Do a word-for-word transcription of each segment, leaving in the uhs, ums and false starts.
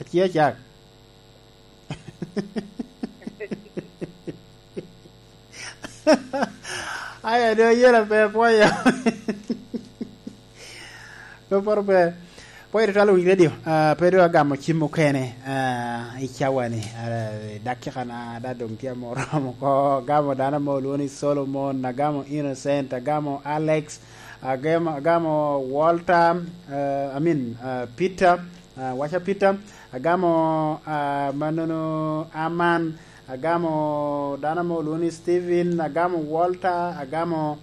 Aci acak. Aya, do yela pe pwoyo. Pe poro pe. Pwoyo twal wi radio. Ah, pe do agamo cim mukene. Ah, i cawani. Ah, dakika na da dong tye amoro oko. Agamo dano mo olwongo ni Solomon, agamo Innocent, agamo Alex, agamo, agamo Walter, ah, I mean, ah, Peter, ah, waca Peter, agamo, ah, manono Aman, agamo dano mo olwongo ni Steven, agamo Walter, agamo,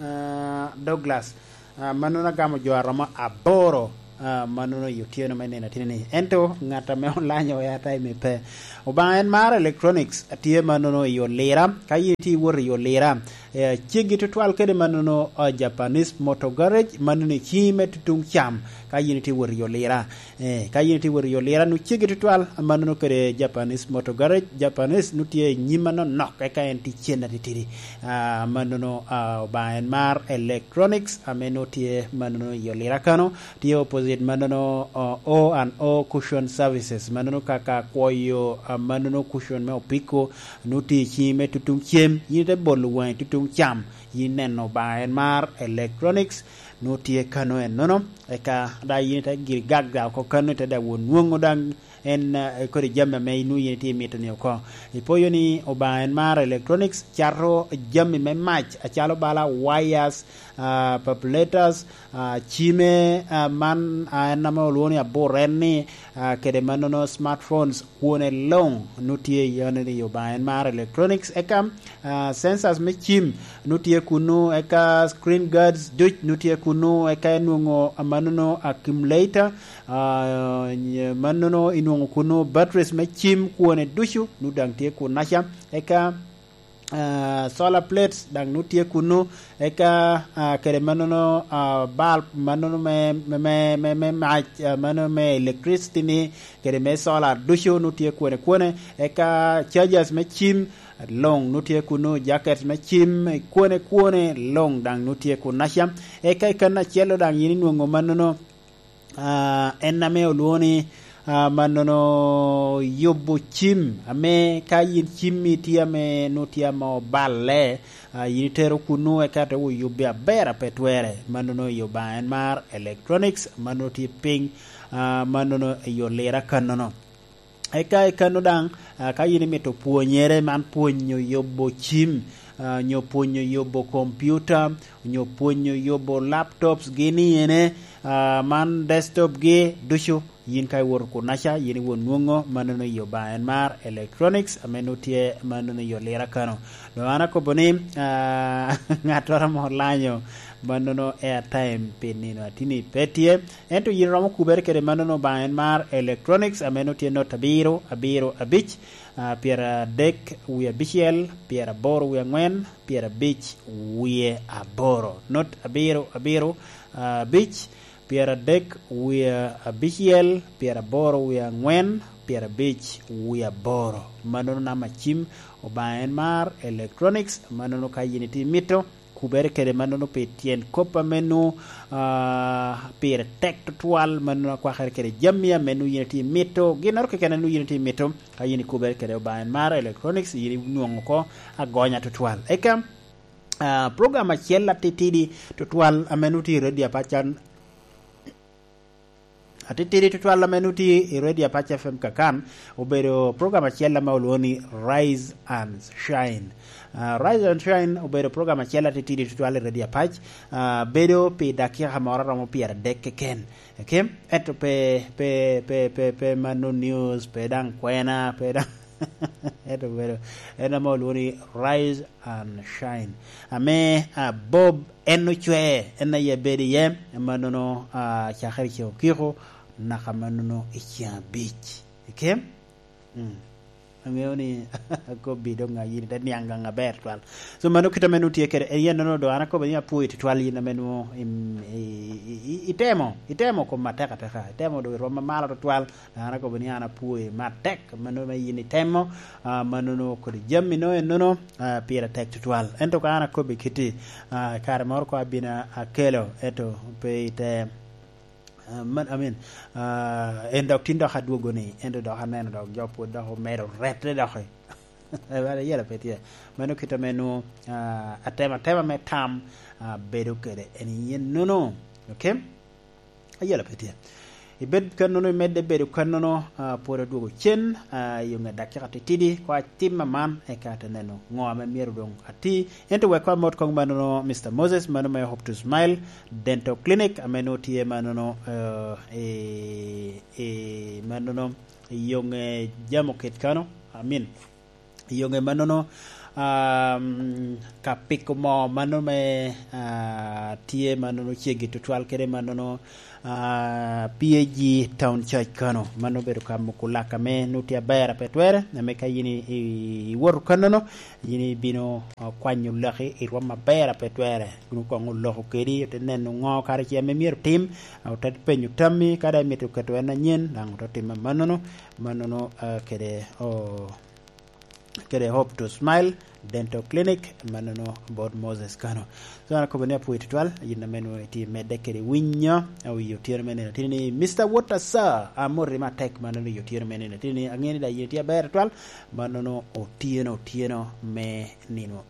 ah, Douglas. Ah, manono agamo jo aromo aboro, ah, manono i otyeno me nino atini-ni. Ento ŋat ame olanyo airtime pe. Obaŋa en maro electronics, atye manono i Olira. Ka yin itye iwot i Olira, eh, ceggi tutwal kede manono, ah, Japanese Motor Garage, manono i ciŋi me tutuŋ cam. Ka yin itye iwot i Olira, eh, ka yin itye iwot i Olira, nu ceggi tutwal, manono kede Japanese Motor Garage. Japanese nu tye i nyim anonok, eka en tye cen atitidi. Ah, manono, ah, Obaŋa en mar electronics, ame nu tye manono i Olira kano, tye opposite manono, ah, O and O Cushion Services, manono kaka kwoyo, ah, manono cushion me opiko, nu tye i ciŋi me tutuŋ cem, yin ite bolo waŋi tutuŋ cam, yin neno Obaŋa en mar electronics, nu tye kano ennono, eka da yin ite giri gagga oko kano, ite da won nwoŋo daŋ en, eh, kodi jami ame inwoŋo yin itye imito ni oko. Ipoyo ni Obaŋa en mar electronics, cato jami me mac acalo bala wires, ah, papulators, ah, cime, ah, man, ah, en ame olwoŋo ni abur en ni, ah, kede manono smartphones, kwone luŋ nu tye i yone ni Obaŋa en mar electronics. Eka, ah, sensors me cim nu tye kunu, eka screen guards duc nu tye kunu, eka enwoŋo manono accumulator, ah, nye-, manono inwoŋo kunu batteries me cim kwone ducu nu daŋ tye kunaca. Eka, ah, solar plates daŋ nu tye kunu, eka, ah, kede manono, ah, bulb manono me, me, me, me, me mac, ah, mano me electricity ni, kede me solar ducu nu tye kwone kwone, eka chargers me cim luŋ nu tye kunu, jacket me cim kwone kwone luŋ daŋ nu tye kunaca. Eka i kan acel-lo daŋ yin inwoŋo manono, ah, en ame olwoŋo ni, ah, manono yubo cim, ame ka yin cimmi tye ame nu tye ame oballe, ah, yin itero kunu eka te oyubbi aber a pe twere, manono i Obaŋa en mar electronics, manono tye piny, ah, manono i Olira kannono. Eka i kanno daŋ, ah, ka yin imito pwonyere man pwonyo yubo cim, ah, nyo pwonyo yubo kompiuta, nyo pwonyo yubo laptops gi ni ene, ah, man desktop gi ducu, yin ka iwoto kunaca, yin iwot nwoŋo manono i Obaŋa en mar electronics, ame nwoŋo tye manono i Olira kano. Doŋ an akobo ni, ah, ŋattoro ame olanyo manono airtime pi nino atini pe tye, ento yin romo kubere kede manono Obaŋa en mar electronics, ame nwoŋo tye not abiro, abiro, abic, ah, pyeradek wie abicel, pyeraboro wie aŋwen, pyerabic wie aboro. Not abiro, abiro, ah, abic, pyeradek wie abicel, pyeraboro wie aŋwen, pyerabic wie aboro. Manono namba cim Obaŋa en mar electronics, manono ka yin itye imito, kubere kede manono pi tyen kop ame nwoŋo, ah, pire tek tutwal, manono akwakere kede jami ame nwoŋo yin itye imito, ginnoro keken ame nwoŋo yin itye imito, ka yin ikubere kede Obaŋa en mar electronics, yin inwoŋo oko agonya tutwal. Eka, ah, program acel atitidi tutwal ame nwoŋo tye i redio apac can, atitidi tutwal ame nwoŋo tye i redio apac F M Kakan, obedo program acel ame olwoŋo ni Rise and Shine. Ah, Rise and Shine obedo program acel atitidi tutwal i redio apac, ah, bedo pi dakika moro romo pyeradek keken. Okay? Ento pe, pe, pe, pe, pe mano news, pe daŋ kwena, pe daŋ ento obedo en ame olwoŋo ni Rise and Shine. Ame, ah, Bob en ocwee, en aye bedo iye, mannono, ah, cakere i ceŋ okiko, naka mannono i ceŋ abic. Okay? Mm. Aŋeo ni akobbi doŋ a yin ite niaŋ gaŋ aber twal. So mano kite ame nwoŋo tye kede, en yen nono doŋ an akobo ni apwoyi tutwal yin ame nwoŋo im-, i, i, i, itemo, itemo kom atek ateka, itemo doŋ i rwom amalo tutwal. An akobo ni an apwoyi matek, mano me yin itemo, ah, mano nwoŋo kodi jami no en nono, ah, pire tek tutwal. Ento ka an akobbi kiti, ah, kare moro ko abino akelo, ento pe ite Ah, man, I mean, ah, en dok tin dok adwogo ni, ento dok aneno dok jo pwod dok omedo rette dok i. Ewala yela pe tye. Mano kit ame nwoŋo, ah, atema, atema me tam, ah, bedo kede en yen nono. Okay? Ayela pe tye. Ibed kannono, imedde bedo kannono, ah, pwod adwogo cen, ah, i onge dakika titidi, ko atim aman, eka ate neno ŋo ame myero doŋ ati. Ento wek ko amot koŋ manono, Mister Moses, mano me Hope to Smile Dental Clinic, ame nwoŋo tye manono, eh, i, i manono, i yong, eh, Jamo Kit kano, I mean, i yong, eh, manono, um, ka piko moo mano me, ah, tye manono ceggi tutwal kede manono, ah, P A G Town Church kano. Mano obedo ka moko lak ame nwoŋo tye aber a pe twere, ame ka yin i, i, iwoto kannono, yin ibino, ah, kwanyo laki i rwom aber a pe twere. Kun koŋ oloko kedi, ote neno ŋo kara ce ame myero tim, ah, ote penyo tammi, ka daŋ imito keto en anyen, daŋ ote timo amannono, mannono, ah, kede, oh, kede Hope to Smile Dental Clinic, mannono bot Moses kano. So, an akobo ni apwoyi tutwal, yin ame nwoŋo itye medde kede winyo, awiyo otyeno me nino tini ni, Mister Water Sir, amoti matek mannono i otyeno me nino tini ni, aŋeo ni daŋ yin itye aber tutwal, mannono otyeno, otyeno me nino